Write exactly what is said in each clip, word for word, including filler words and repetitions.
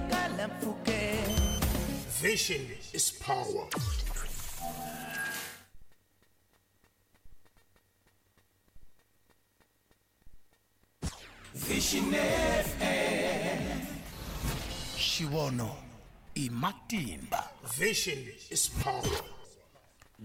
twakala mpfhukeni. Vision is power. Vision F M. Xivono i matimba. Vision is power.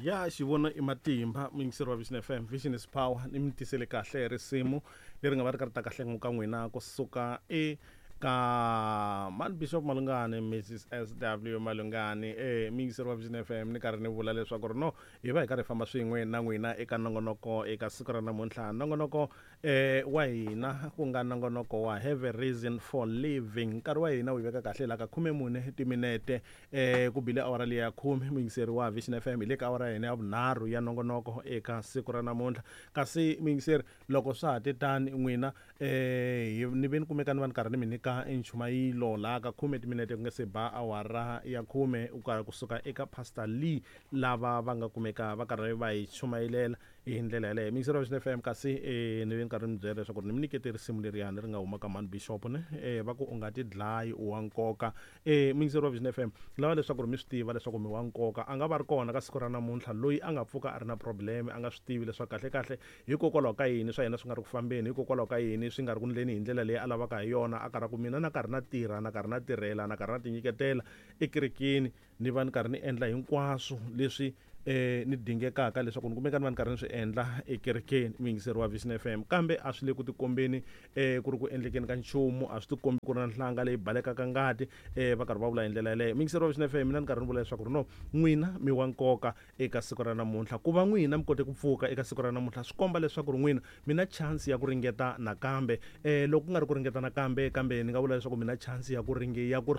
Ya xivono i matimba, muyingiseri wa Vision F M. Vision is power. Ni mi tisele kahle risimu leri nga va ri karhi ta kahle ka n'wina kusuka eka Man Bishop Malungani, Missus S W Malungani. Eh, muyingiseri wa Vision F M, ni karhi ni vula leswaku ri no hi va hi karhi hi famba swin'we na n'wina eka nongonoko eka siku ra namuntlha. Nongonoko eh wa hina ku nga nongonoko wa Have a Reason for Living. Nkarhi wa hina wu hi veka kahle laha ka khume mune timinete eh ku bile awara leyi ya khume. Muyingiseri wa Vision F M, hi le ka awara ya hina ya vunharhu ya nongonoko eka siku ra namuntlha. Kasi muyingiseri, loko swa ha te tani n'wina eh ni ve ni kumeka ni va ni karhi ni mi nyika nchumayilo laha ka khume timinete ku nga se ba awara ya khume kusuka eka Pastor Lee, lava va nga kumeka va karhi va hi chumayilela hi ndlela yaleyo. Muyingiseri wa Vision F M, kasi eh ni ve ni karhi ni byela leswaku ni mi nyikete risimu leriyani ri nga huma ka Man Bishop ne eh va ku u nga ti dlayi u wa nkoka. Eh muyingiseri wa Vision F M, lava leswaku mi swi tiva leswaku mi wa nkoka. A nga va ri kona ka siku ra namuntlha loyi a nga pfuka a ri na problem, a nga swi tivi leswaku kahle kahle hikokwalaho ka yini swa yena swi nga ri ku fambeni, hikokwalaho ka yini swi nga ri ku ndleni hi ndlela leyi a lavaka hi yona. A karhi ku mina na karhi na tirha, na karhi na tirhela, na karhi na tinyiketela ekerekeni, ni va ni karhi ni endla hinkwaswo leswi eh ni dingekaka leswaku ni kumeka ni va ni karhi ni swi endla ekerekeni, muyingiseri wa Vision F M. Kambe a swi le ku tikombeni eh ku ri ku endlekeni ka nchumu, a swi tikombi ku ri na nhlanga leyi balekaka ngati eh va karhi va vula hi ndlela yaleyo. Muyingiseri wa Vision F M, mina ni karhi ni vula leswaku ri no n'wina mi wa nkoka eka siku ra namuntlha. Ku va n'wina mi kote ku pfuka eka siku ra namuntlha swi komba leswaku ri n'wina mi na chance ya ku ringeta nakambe. Eh loko ku nga ri ku ringeta nakambe, kambe ni nga vula leswaku mi na chance ya ku ringe ya ku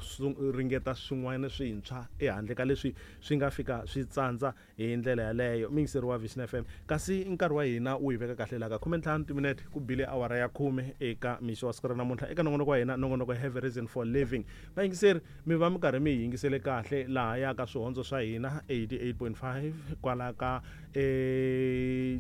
ringeta swin'wana swintshwa ehandle ka leswi swi nga fika swi tsandza hi ndlela yaleyo. Muyingiseri wa Vision F M, kasi nkarhi wa hina wu hi veka kahle laha ka khume ntlhanu timinete ku bile awara ya khume eka mixo wa siku ra namuntlha eka nongonoko wa hina, nongonoko Have a Reason for Living. Vayingiseri, mi va mi karhi mi hi yingisele kahle laha ya ka swihondzo swa hina eighty-eight point five kwala ka eh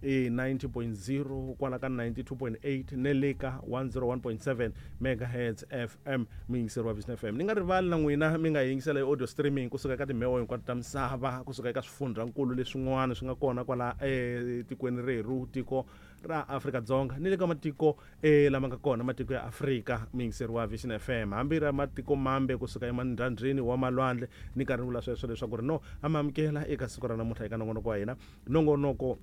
e ninety point zero kwala ka ninety-two point eight ne le ka one oh one point seven megahertz F M. Muyingiseri wa Vision F M, ni nga rivali na n'wina mi nga yingisela hi audio streaming kusuka eka timheho hinkwato ta misava, kusuka eka swifundzhankulu leswin'wana swi nga kona kwala etikweni rerhu, tiko ra Afrika-Dzonga, ni le ka matiko eh lama nga kona, matiko ya Afrika. Muyingiseri wa Vision F M, hambi ra matiko mambe kusuka emandzhandzheni wa malwandle, ni karhi ni vula sweswo leswaku ri no amamukela eka siku ra namuntlha eka nongonoko wa hina, nongonoko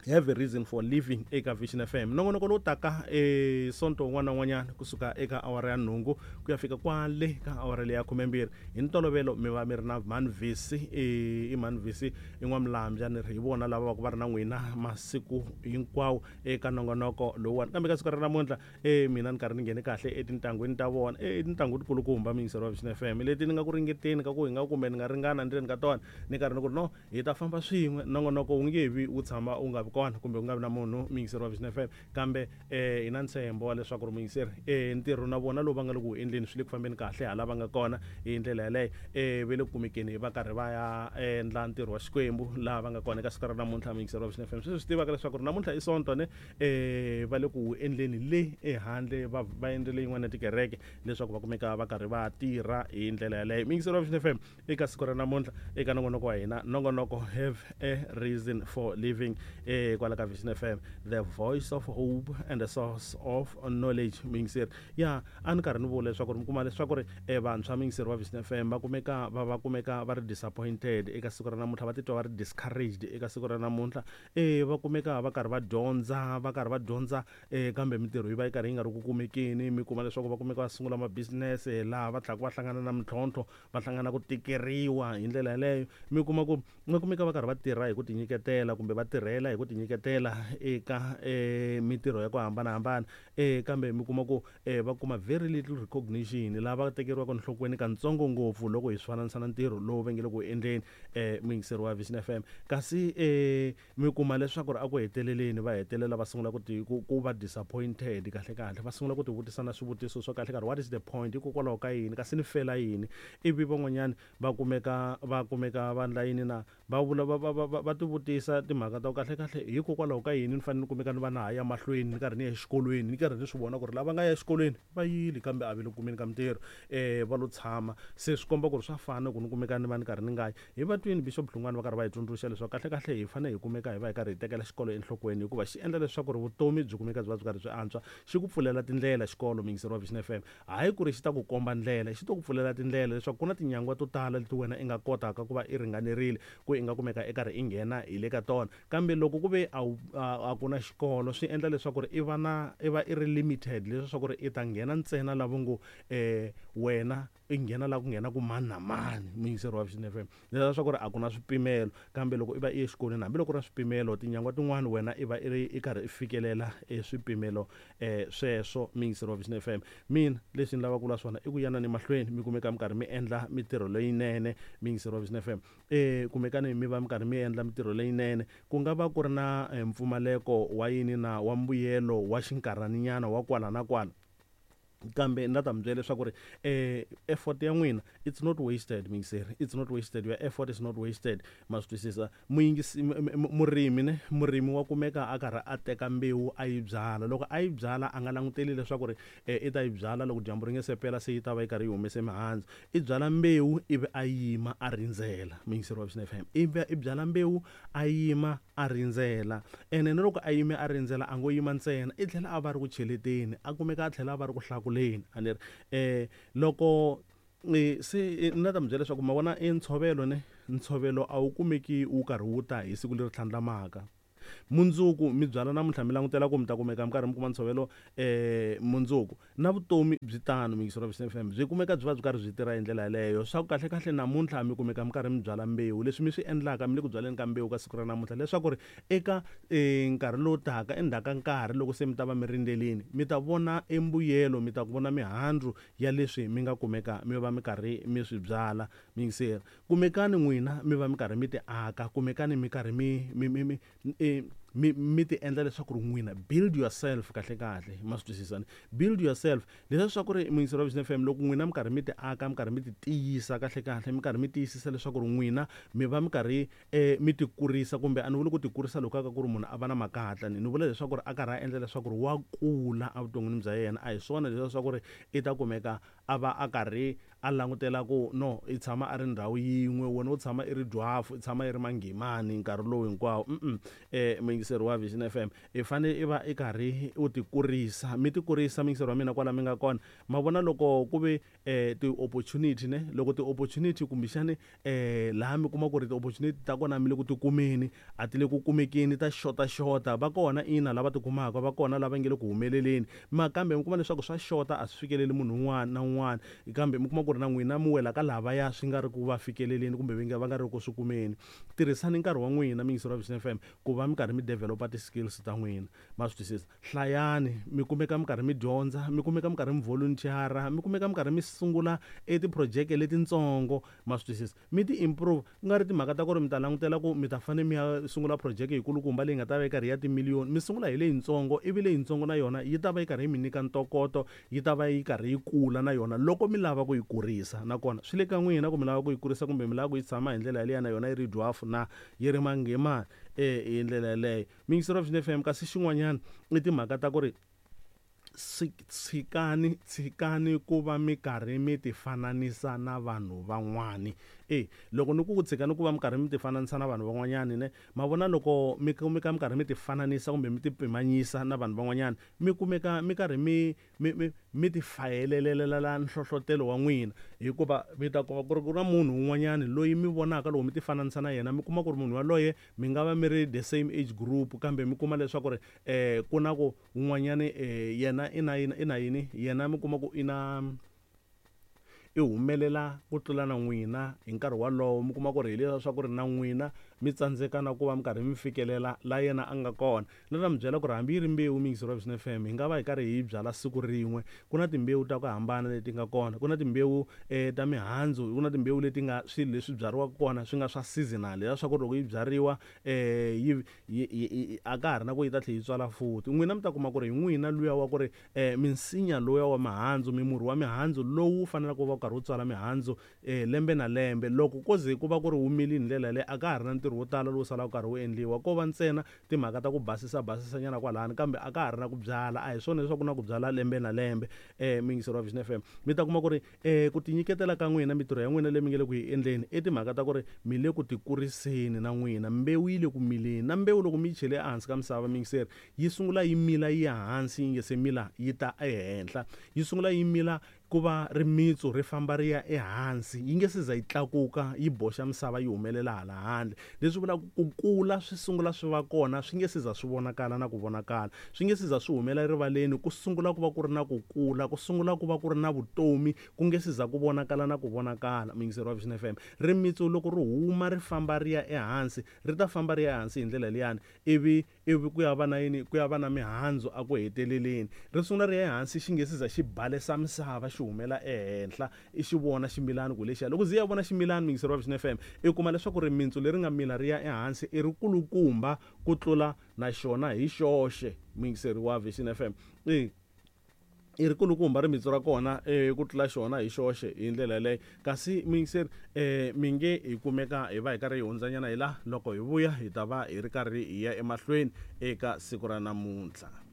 Have a Reason for Living eka Vision F M. Nongonoko lowu taka eh sonto wun'wana na wun'wanyana kusuka eka awara ya nhungu ku ya fika kwale ka awara leya khumembirhi. Hi ntolovelo mi va mi ri na Man Visi, eh i Man Visi i N'wamulambya, ni ri hi vona lava va ku va ri na n'wina masiku hinkwawo eka nongonoko lowuwani. Kambe ka siku ra namuntlha eh mina ni karhi ni nghene kahle etintangwini ta vona, eh tintangu tikulukumba muyingiseri wa Vision F M leti ni nga ku ringeteni ka ku hi nga kumbe ni nga ringana ndzeni ka tona, ni karhi ni ku ri no hi ta famba swin'we. Nongonoko wu nge vi wu tshama wu nga vi kona kumbe ku nga vi na munhu muyingiseri wa Vision F M, kambe eh hi na ntshembo wa leswaku ri muyingiseri eh ntirho na vona lowu va nga le ku wu endleni swi le ku fambeni kahle hala va nga kona hi ndlela yaleyo. Eh ve le ku kumekeni va karhi va ya endla ntirho wa Xikwembu laha va nga kona eka siku ra namuntlha. Muyingiseri wa Vision F M, sweswi swi tivaka leswaku ri namuntlha i Sonto ne eh va le ku wu endleni le ehandle, va va endlele yin'wana ya tikereke leswaku va kumeka va karhi va tirha hi ndlela yaleyo. Muyingiseri wa Vision F M, eka siku ra namuntlha eka nongonoko wa hina, nongonoko Have a Reason for Living eh kwala ka Vision F M, the voice of hope and the source of knowledge. Muyingiseri, ya a ni karhi ni vula leswaku ri mi kuma leswaku ri eh vantshwa muyingiseri wa Vision F M va kumeka va va kumeka va ri disappointed eka siku ra namuntlha, va titwa va ri discouraged eka siku ra namuntlha. Eh va kumeka va karhi va dyondza, va karhi va dyondza eh kambe mintirho yi va yi karhi yi nga ri ku kumekeni. Mi kuma leswaku va kumeka va sungula ma business laha va tlhaka va hlangana na mintlhontlho, va hlangana ku tikeriwa hi ndlela yaleyo. Mi kuma ku va kumeka va karhi va tirha hi ku tinyiketela kumbe va tirhela hi ku tinyiketela eka eh mintirho ya ku hambanahambana, eh kambe mi kuma ku eh va kuma very little recognition, laha va tekeriwaka enhlokweni katsongo ngopfu loko hi swi fananisa na ntirho lowu va nge le ku endleni eh muyingiseri wa Vision F M. Kasi eh mi kuma leswaku ri a ku heteleleni va hetelela va sungula ku ti ku, ku va disappointed kahle kahle, va sungula ku ti vutisa na swivutiso swa kahle kahle, what is the point, hikokwalaho ka yini, kasi ni fela yini. Ivi van'wanyani va kumeka va kumeka va ndla yini na va vula va, va, va, va, va ti vutisa timhaka ta ku kahle kahle kahle hikokwalaho ka yini ni fanele ni kumeka ni va na ha ya mahlweni ni karhi ni ya exikolweni ni karhi ni swi vona ku ri lava nga ya exikolweni va yile kambe a va le ku kumeni ka mintirho um va lo tshama se swi komba ku ri swa fana ku ni kumeka ni va ni karhi ni nga yi hi va twini Bishop Hlungwani va karhi va hi tsundzuxa leswaku kahle kahle hi fanele hi kumeka hi va hi karhi hi tekela xikolo enhlokweni hikuva xi endla leswaku ri vutomi byi kumeka byi va byi karhi byi antswa xi ku pfulela tindlela xikolo muyingiseri wa Vision F M hayi ku ri xi ta ku komba ndlela xi to ku pfulela tindlela leswaku ku na tinyangwa to tala leti wena i nga kotaka ku va i ringanerile ku i nga kumeka i karhi i nghena hi le ka tona kambe loko ku ve a a ku na xikolo swi endla leswaku ri i va na i va i ri limited leswaku ri i ta nghena ntsena lavo ngo um wena i nghena la ku nghena ku mani na mani muyingiseri wa Vision F M leswaku ri a ku na swipimelo kambe loko i va i ye exikolweni hambiloko ri na swipimelo tinyangwa tin'wani wena i va i ri i karhi i fikelela eswipimelo um sweswo muyingiseri wa Vision F M mina leswi ni lavaka ku vula swona i ku yanani mahlweni mi kumeka mi karhi mi endla mitirho leyinene muyingiseri wa Vision F M um kumekani mi va mi karhi mi endla mitirho leyinene ku nga va ku ri na mpfumaleko wa yini na wa mbuyelo wa xinkarhaninyana wa kwala na kwala kambe ni ta mi byela leswaku ri eh effort ya n'wina it's not wasted muyingiseri it's not wasted your effort is not wasted ma swi twisisa muyingisi murimi ne murimi wa kumeka a karhi a teka mbewu a yi byala loko a yi byala a nga languteli leswaku ri i ta yi byala loko dyambu ri nge se pela se yi ta va yi karhi yi humese mihandzu i byala mbewu ivi a yima a rindzela muyingiseri wa Vision F M ivi i byala mbewu a yima a rindzela ene na loko a yime a rindzela a ngo yima ntsena i tlhela a va ri ku cheleteni a kumeka a tlhela a va ri ku hlakuleni a ni ri eh loko se ni ta mi byela leswaku ma vona i ntshovelo ne ntshovelo a wu kumeki wu karhi wu ta hi siku leri tlhandlamaka mundzuku mi byala namuntlha mi langutela ku mi ta kumeka mi karhi mi kuma ntshovelo um mundzuku na vutomi byi tano muyingiseri wa Vision F M byi kumeka byi va byi karhi byi tirha hi ndlela yeleyo swa ku kahle kahle namuntlha mi kumeka mi karhi mi byala mbewu leswi mi swi endlaka mi le ku byaleni ka mbewu ka siku ra namuntlha leswaku ri eka nkarhi lowu taka endzhaku ka nkarhi loko se mi ta va mi rindzelini mi ta vona embuyelo mi ta vona mihandzu ya leswi mi nga kumeka mi va mi karhi mi swi byala muyingiseri kumekani n'wina mi va mi karhi mi ti aka kumekani mi karhi mi mi mi mi mi mi ti endla leswaku ri n'wina build yourself kahle kahle ma swi twisisani build yourself leswaku ri muyingiseri wa Vision F M loko n'wina mi karhi mi ti aka mi karhi mi ti tiyisa kahle kahle mi karhi mi tiyisisa leswaku ri n'wina mi va mi karhi um mi ti kurisa kumbe a ni vuli ku ti kurisa loko ka ku ri munhu a va na makatla ni ni vula leswaku ri a karhi a endla leswaku ri wa kula evuton'wini bya yena a hi swona leswaku ri i ta kumeka a va a karhi a langutela ku no i tshama a ri ndhawu yin'we wena u tshama i ri dwafu i tshama i ri manghimani nkarhi lowu hinkwawo mm eh muyingiseri wa Vision F M i fanele i va i karhi u ti kurisa mi ti kurisa muyingiseri wa mina kwala mi nga kona ma vona loko ku ve eh ti-opportunity ne loko ti-opportunity kumbexani eh laha mi kuma ku ri ti-opportunity ta kona mi le ku ti kumeni a ti le ku kumekeni ta xota xota va kona ina lava ti kumaka va kona lava nge le ku humeleleni ma kambe mi kuma leswaku swa xota a swi fikeleli munhu un'wana na un'wana kambe mi kuma ku ri na n'wina mi wela ka lavaya swi nga ri ku va fikeleleni kumbe va nga va nga ri ku swi kumeni tirhisani nkarhi wa n'wina muyingiseri wa Vision F M ku va mi karhi mi developa ti-skills ta n'wina ma swi twisisa hlayani mi kumeka mi karhi mi dyondza mi kumeka mi karhi mi volunteer mi kumeka mi karhi mi sungula e ti-project letintsongo ma swi twisisa mi ti-improve ku nga ri timhaka ta ku ri mi ta langutela ku mi ta fanele mi ya sungula project yikulukumba leyi nga ta va yi karhi ya timiliyoni mi sungula hi leyintsongo ivi leyintsongo na yona yi ta va yi karhi yi mi nyika ntokoto yi ta va yi karhi yi kula na yona loko mi lava ku yi kurisa nakona swi le ka n'wina ku mi lava ku yi kurisa kumbe mi lava ku yi tshama hi ndlela yaleyo na yona yi ri dwafu na yi ri manghimani eh hi ndlela yaleyo muyingiseri wa Vision F M kasi xin'wanyana i timhaka ta ku ri tshikani tshikani ku va mi karhi mi ti fananisa na vanhu van'wani e loko ni ku ku tshikani ku va mi karhi mi ti fananisa na vanhu van'wanyani ne ma vona loko mi kumeka mi karhi mi ti fananisa kumbe mi ti pimanyisa na vanhu van'wanyana mi kumeka mi karhi mi mi mi mi ti fayelelelela nhlohlotelo wa n'wina hikuva mi ta kuma ku ri ku na munhu un'wanyani loyi mi vonaka loko mi ti fananisa na yena mi kuma ku ri munhu yaloye mi nga va mi ri the same age group kambe mi kuma leswaku ri um ku na ku un'wanyani um yena i na yini i na yini yena mi kuma ku i na i humelela ku tlula na n'wina hi nkarhi wolowo mi kuma ku ri hi leswaku ri na n'wina mi tsandzeka na ku va mi karhi mi fikelela la yena a nga kona ni ta mi byela ku ri hambi yi ri mbewu muyingiseri wa Vision F M hi nga va hi karhi hi byala siku rin'we ku na timbewu ta ku hambana leti nga kona ku na timbewu um ta mihandzu ku na timbewu leti nga swilo leswi byariwaka kona swi nga swa seasonal leswaku loko yi byariwa um yi a ka ha ri na ku yi ta tlhela yi tswala futhi n'wina mi ta kuma ku ri hi n'wina luya wa ku ri um minsinya luya wa mihandzu mimurhi wa mihandzu lowu faneleke ku va karhi wu tswala mihandzu um lembe na lembe loko ko ze ku va ku ri wu mili hi ndlela yaleyo a ka ha ri na ntirho ntirho wo tala lowu salaka karhi wu endliwa ko va ntsena timhaka ta ku basisa basisanyana kwalani kambe a ka ha ri na ku byala a hi swona leswaku na ku byala lembe na lembe um muyingiseri wa Vision F M mi ta kuma ku ri um ku tinyiketela ka n'wina mintirho ya n'wina leyi mi nge le ku yi endleni i timhaka ta ku ri mi le ku tikuriseni na n'wina mbewu yi le ku mileni na mbewu loko mi yi chele ehansi ka misava muyingiseri yi sungula yi mila yi ya hansi yi nge se mila yi ta ehenhla yi sungula yi mila ku va rimitsu ri famba ri ya ehansi yi nge se za yi tlakuka yi boxa misava yi humelela hala handle leswi vulaka ku kula swi sungula swi va kona swi nge se za swi vonakala na ku vonakala swi nge se za swi humela erivaleni ku sungula ku va ku ri na ku kula ku sungula ku va ku ri na vutomi ku nge se za ku vonakala na ku vonakala muyingiseri wa Vision F M rimitsu loko ri huma ri famba ri ya ehansi ri ta famba ri ya ehansi hi ndlela liyani ivi ivi ku ya va na yini ku ya va na mihandzu a ku heteleleni ri sungula ri ya ehansi xi nge se za xi balesa misava xi humela ehenhla i xi vona ximilani ku lexiya loko zi ya vona ximilani muyingiseri wa Vision F M i kuma leswaku rimitsu leri nga mila ri ya ehansi i ri kulukumba ku tlula na xona hi xoxe muyingiseri wa Vision F M i i ri kulukumba rimitsu ra kona um ku tlula xona hi xoxe hi ndlela yaleyo kasi muyingiseri um mi nge hi kumeka hi va hi karhi hi hundzanyana hi la loko hi vuya hi ta va hi ri karhi hi ya emahlweni eka siku ra namuntlha.